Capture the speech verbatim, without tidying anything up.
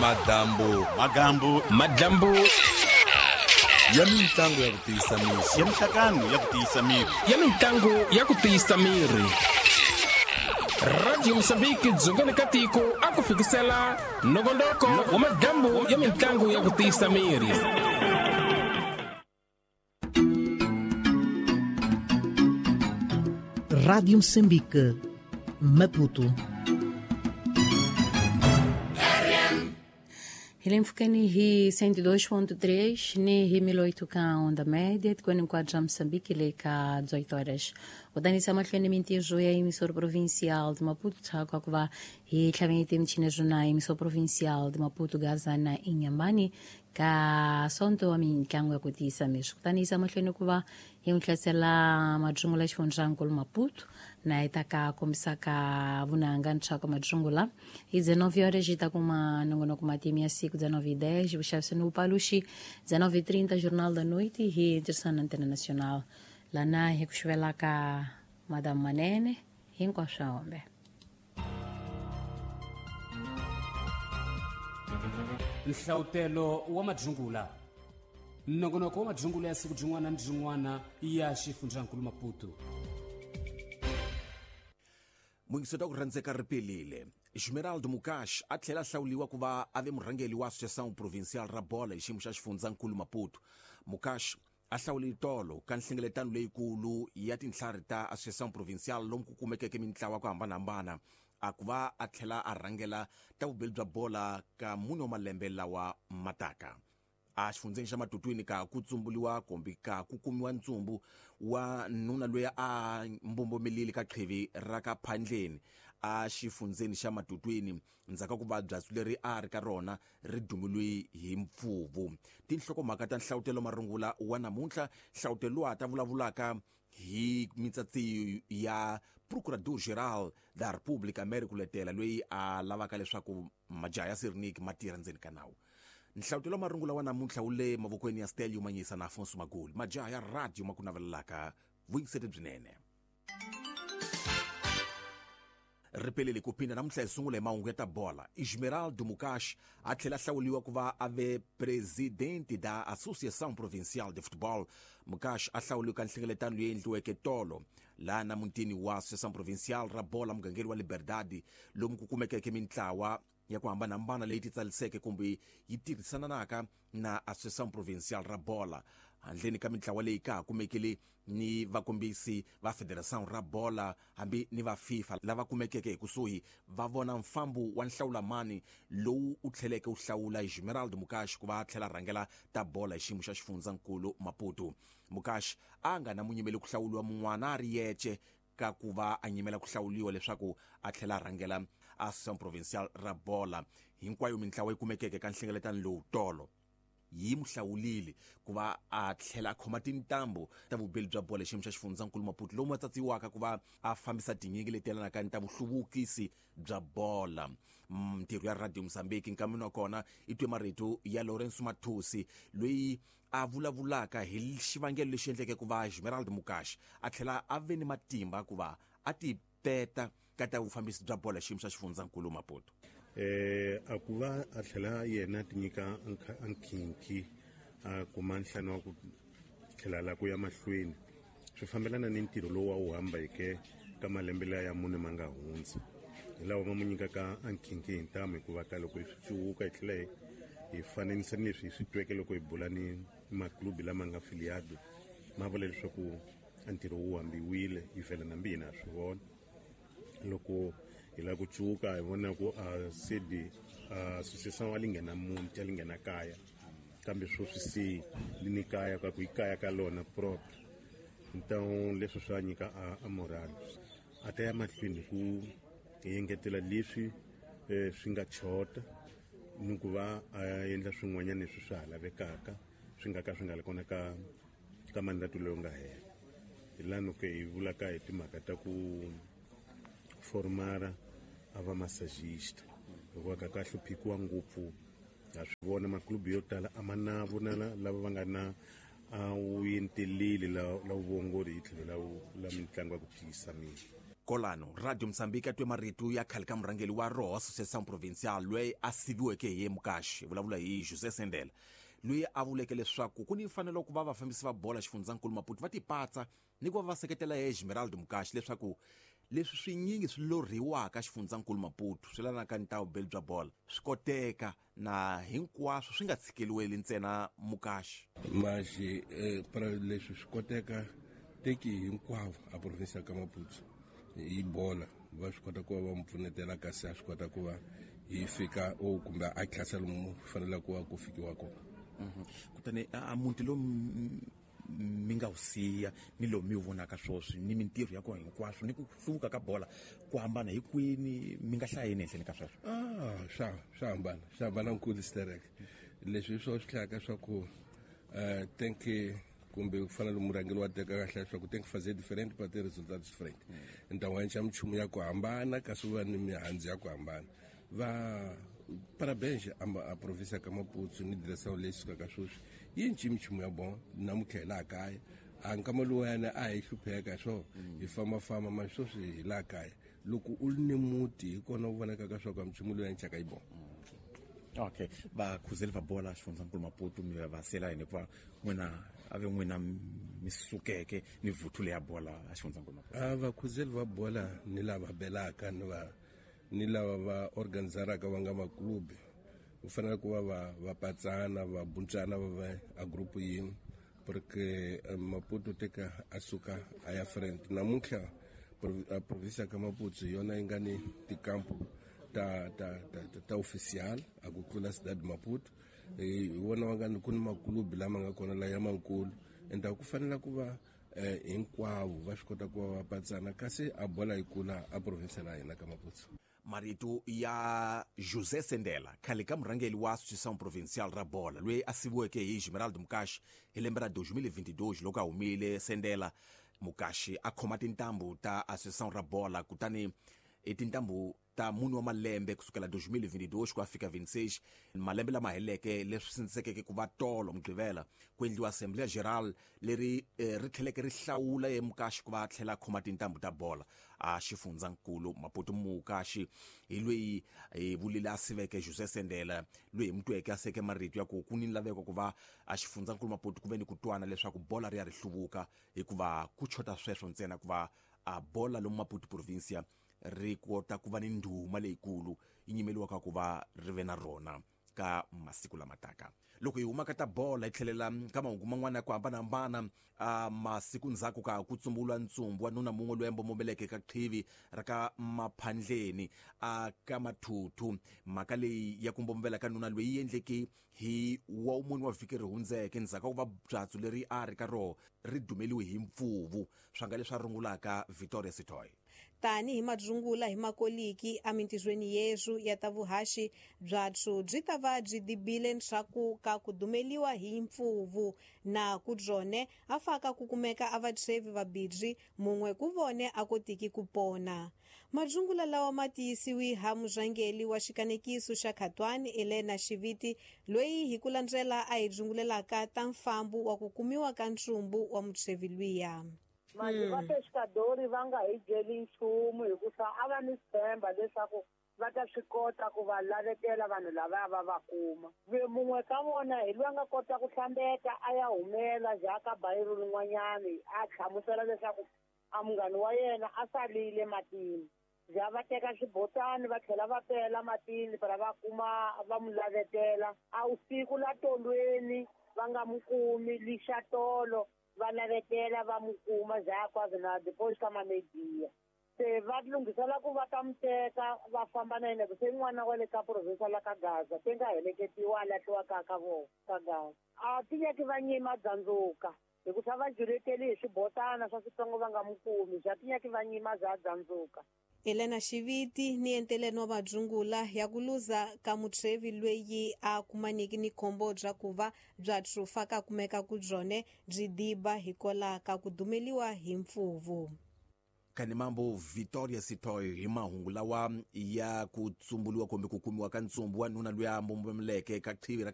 Madambu magambu madambu ya mintlangu ya ku tiyisa miri ya mihlangano ya ku tiyisa miri ya mintlangu ya ku tiyisa miri. Radio Mozambique dzongeni ka tiko a ku fikisela nongonoko wa madambu ya mintlangu ya ku tiyisa miri. Rádio Moçambique, Maputo. Hi hi cento e dois ponto três, ni hi mil oito ka onda média, de quando enquadra Moçambique, le ka dezoito horas. O Dani Samatlene Mintijo é emissor provincial de Maputo, Tchakwa, e Tlamete Mchina Juna, emissor provincial de Maputo, Gazana, Inhambane, ka sonto wa mintlangu ya ku tiyisa miri. Kutani yisa mahlweni ku va hi n'wi hlasela madzungula xifundzankulu Maputo na yi ta ka kombisaka vunanga ntswaka madzungula hi dezenove horas yi ta kuma nongonoko matimu ya siku dezenove e dez vuxavisi ni vupaluxi dezenove e trinta Jornal da Noite hi tirhisana Antena Nacional lana hi ku xuvelaka Madame Manene hinkwaswo hombe. Nhlawutelo wa madzungula nongonoko wa madzungula ya siku byin'wana ni byin'wana ya xifundzankulu Maputo. Muyingisoti wa ku rhandzeka ri pelile. Esmeraldo Mukash a tlhela a hlawuriwa ku va a ve murhangeri wa Associação Provincial ra Bola hi xiyimo xa xifundzankulu Maputo. Mukash a hlawule tolo ka nhlengeletano leyikulu ya tintlhari ta Associação Provincial lomu ku kumekeke mintlawa ku hambanahambana a ku va a tlhela a rhangela ta vubeli bya bola ka mune wa malembe lawa mataka. A xifundzeni xa Matutwini ka ku tsumbuliwa kumbe ka ku kumiwa ntsumbu wa nuna loyi a mbombomelile ka qhivi ra ka Phandleni a xifundzeni xa Matutwini ndzhaku ka ku va byatsu leri a ri ka rona ri dumiliwe hi mpfuvu. Tinhlokomhaka ta nhlawutelo marungula wa namuntlha nhlawutelo lowu a ta vulavulaka hi mitsatsi ya Procurador-Geral da República Américo Letela loyi a lavaka leswaku majaha ya Sirniki ma tirha ndzeni ka nawu. Nhlawutelo marungula wa namuntlha wu le mavokweni ya Stelio Manyisa na Afonso Magoli. Majaha ya radio ma ku navelelaka vuyingiseti byinene. Ripelele ku phinda namuntlha hi sungula hi mahungu ya ta bola. Esmeraldo Mukash a tlhela a hlawuriwa ku va a ve presidente da Associação Provincial de Futebol. Mukash a hlawuriwe ka nhlengeletano leyi endliweke tolo laha na mutini wa Associação Provincial ra bola mugangeni wa Liberdade lomu ku kumekeke mintlawa ya ku hambanahambana leyi titsaliseke kumbe yi tirhisananaka na Associação Provincial ra bola. Handleni ka mintlawa leyi ka ha kumekile ni vakombisi va Federação ra bola hambi ni va FIFA lava kumekeke hi kusuhi va vona mfambo wa nhlawulamani lowu u tlheleke u hlawula Esmeraldo Mukash ku va a tlhela rhangela ta bola hi xiyimo xa xifundzankulu Maputo. Mukash a nga na munyimeli ku hlawuliwa mun'wana a ri yece ka ku va a nyimela ku hlawuliwa leswaku a tlhela rhangela Associação Provincial ra bola. Hinkwayo mintlawa yi kumekeke ka nhlengeletano lowu tolo yi mu hlawulile ku va a tlhela a khoma tintambu ta vubeli bya bola xiyimo xa xifundzankulu Maputo lomu a tsatsiwaka ku va a fambisa tinyingi leti yelanaka ni ta vuhluvukisi bya bola. Mintirho ya Radio Mozambique nkamini wa kona i twe marito ya Lourenço Mathusi loyi a vulavulaka hi xivangelo lexi endleke ku va Esmeraldo Mukash a tlhela a ve ni matimba ku va a ti peta ka ta vufambisi bya bola xiyimo xa xifundzankulu Maputo. Eh a ku va a tlhela yena ti nyika nkhinkhi a kuma nhlano wa ku tlhela la ku ya mahlweni swi fambelana ni ntirho lowu a wu hambeke ka malembe laya ya mune ma nga hundza hi lawa ma mu nyikaka a nkhinkhi hi ntamu hikuva ka loko hi swi cuwuka hi tlhela hi hi fananisa ni leswi hi swi tweke loko hi bula ni maklubi lama nga filiado ma vula leswaku a ntirho wu hambiwile hi vhela nambi hina ha swi vona loko hi lava ku cuka hi vona ku a sedi association a li nghena muti a li nghena kaya kambe sweswi se li ni kaya ka ku i kaya ka lona propre então leswi swa nyika a, a moral a ta ya mahlweni hi ku engetela leswi eh, swi nga chota ni ku va a endla swin'wanyana leswi swa ha lavekaka swi nga ka swi nga li kona ka ka mandato lowu nga hela hi laha ke hi vulaka hi timhaka ta ku formara a va massagista hikuva ka ka hluphikiwa ngopfu ha swi vona maklubu yo tala a ma na vona lava va nga na a wu enteleli la la vuongori hi tlhelo la la mitlangu ya ku tiyisa miri. Kolano Radio Mozambique atwe marito ya khale ka murhangeri wa roho Associação Provincial loyi a siviweke hi Mukashi vulavula hi José Sendela loyi a vuleke leswaku ku ni mfanelo ku va vafambisi va bola xifundzankulu Maputo va tipatsa ni ku va va seketela Esmeralda Mukashi leswaku leswi swinyingi swi lorhiwaka xifundzankulu Maputo swi lanaka ni ta vubeli bya bola swi koteka na hinkwaswo swi nga tshikeliweli ntsena Mukashi mas eh, para leswi swi koteka teki hinkwavo a provinsia ka Maputo hi bola va swi kota ku va va pfunetela kasi a swi kota ku va hi fika o kumbe a tlhasa lomu fanele ku va ku fikiwa kona. Kutani a muti lowu mi nga wu siya ni lowu mi wu vonaka swoswi ni mintirho ya kona hinkwaswo ni ku hluvuka ka bola ku hambana hi kwini mi nga hlaya yini ehenhleni ka sweswo? Ah, swa swa hambana swa hambana nkulu sterek leswi hi swona swi hlayaka swa ku um tenke kumbe ku fana murhangeri wa teka kahle leswaku tem que fazer diferente para ter resultados diferentes. Então a gente minchumu ya ku hambana kasi va ni mihandzu ya ku hambana. Va parabéns a, a província ka Maputo ni direção leyi sukaka sweswi yi nci minchumu ya bon namuntlha hi laha kaya a nkama lowuyani a hi hlupheka swo hi fambafamba ma sweswi hi laha kaya loko u ri ni muti hi kona u vonakaka swa ku minchumu loyi ya yi bon. Okay, vakhuzeli va bola xifundzankulu Maputo mi va sela yini hikuva n'wina a ve n'wina mi sukeke ni vuthu leya bola a xifundzankulu Maputo? A vakhuzeli va bola ni lava belaka ni va ni lava va organizaraka va nga maklubi u fanele ku va va va patsana va buntsana va va a group yin'we porque Maputo teka a suka a ya front namuntlha a provinsia ka Maputo hi yona yi nga ni tikampo ta ta ta ta oficial a ku tlula Cidade Maputo hi wona va nga ni ku ni maklubi lama nga kona la ya mankulu ende ku fanele ku va hinkwavo va swi kota ku va va patsana kasi a bola yi kula a provinsia la hina ka Maputo. Marito ya José Sendela khale ka murhangeri wa Associação Provincial ra bola loyi a siviweke hi Esmeralda Mukashi hi lembe ra dois mil e vinte e dois loko a humile Sendela Mukashi a khoma tintambu ta Associação ra bola kutani i tintambu ta mune wa malembe kusukela dois mil e vinte e dois ku ya fika vinte e seis malembe lama heleke leswi sindzisekeke ku va tolo Mugqivela ku endliwa Assembleia Geral leri eh, ri tlheleke ri hlawula ye Mukashi ku va a tlhela a khoma tintambu ta bola a xifundzankulu Maputo. Mukashi hi loyi hi vulile a siveke José Sendela loyi hi mutweke a seke marito ya ku ku ni laveko ku va a xifundzankulu Maputo ku ve ni ku twana leswaku bola ri ya ri hluvuka hikuva ku chota sweswo ntsena ku va a bola lomu Maputo provincia ri kota ku va ni ndhuma leyikulu yi nyimeliwaka ku va ri ve na rona ka masiku lama taka. Loko hi huma ka ta bola hi tlhelela ka mahungu man'wana ya ku hambanahambana a masiku ndzhaku ka ku tsumbula ntsumbu wa nuna mun'we loyi a mbombommeleke ka qhivi ra ka Maphandleni a ka Mathuthu. Mhaka leyi ya ku mbombomela ka nuna loyi yi endleke hi wa mune wa vhiki ri hundzeke ndzhaku ka ku va byatso leri a ri ka roho ri dumeliwe hi mpfuvu swa nga leswi a rungulaka Victoria Sitoy. Tani hi madzungula hi makoliki emintirhweni yesu ya ta vuhaxi byatso byi ta va byi dibile ndzhaku ka ku dumeliwa hi mpfuvu na ku byone a faka ku kumeka a vatshwevi vabirhi mun'we ku vone a kotiki ku pona. Madzungula lawa ma tiyisiwi ha murhangeri wa xikanekiso xa Khatwani Elena Xiviti loyi hi ku landzela a hi dzungulelaka ta mfambo wa ku kumiwa ka ntsumbu wa mutshwevi luya. Manje va pescadori va nga hi byeli nchumu hikuva a va ni tshemba leswaku va ta swi kota ku va lavetela vanhu lava va va kuma. Mun'we ka vona hi loyi a nga kota ku hlambeta a ya humela jaka bayiro rin'wanyani a hlamusela leswaku a munghana wa yena a salile matini. Ja va teka xibotani va tlhela va pela matini para va kuma va mu lavetela. A usiku la tolweni va nga mu kumi lixatolo va lavetela va mu kuma ja kwazi na depois ka mamedia. Se va lunghisela ku va ta mu teka va famba na yena se n'wana wa le ka province la ka Gaza te nga heleketiwa a lahliwa ka ka vona ka Gaza. A ti nyaki va nyima dzandzuka hikuva va juleteli hi swibotana swa switsongo va nga mu kumi ja ti nyaki va nyima bya dzandzuka. Elena Xiviti ni enteleni wa madzungula ya ku luza ka mutshwevi loyi a kumaniki ni khombo bya ku va bya trufa ka kumeka ku byone byi diba hikola ka ku dumeliwa hi mpfuvu. Kanimambo Victoria Sitoy hi mahungu lawa ya ku tsumbuliwa kumbe ku kumiwa ka ntsumbu wa nuna loyi a mbombomeleke ka qhivi ra ka